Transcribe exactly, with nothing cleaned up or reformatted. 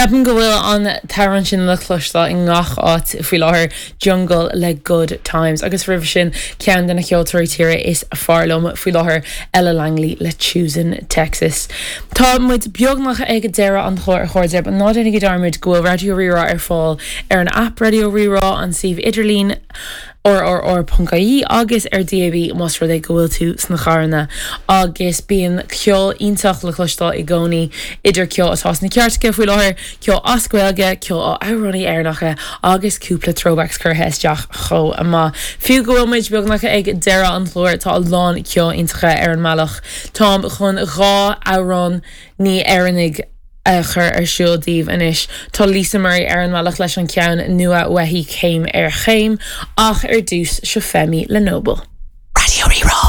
Ceapaim go bhfuil an t-amhrán sin le cloisteáil i ngach áit faoi láthair Jungle le Good Times agus roimhe sin ceann de na ceoltóirí tíre is fearr liom faoi láthair Ella Langley le Choosing Texas. Tá muid beagnach ag deireadh an chláir a chairde ná déanaigí dearmad go bhfuil Raidió Rí-Rá ar fáil ar an app Raidió Rí-Rá an suíomh idirlín RRR.ie agus ar DAB más rud é go bhfuil tú sna carranna agus bíonn ceol iontach le cloisteáil i gcónaí idir ceol atá sna cairteacha faoi láthair, ceol as Gaeilge, ceol ó amhránaithe Éireannacha agus cúpla throwbacks curtha isteach chomh maith. Fiú go bhfuil muid beagnach ag deireadh an chláir tá a lán ceol iontach ar an mbealach. Táim chun dhá amhránaí Éireannach a chur ar siúl daoibh anois. Tá Lisa Murray ar an mbealach leis an ceann nua uaithi céim ar chéim ach ar dtús seo Femi le Noble. Raidió Rí-Rá.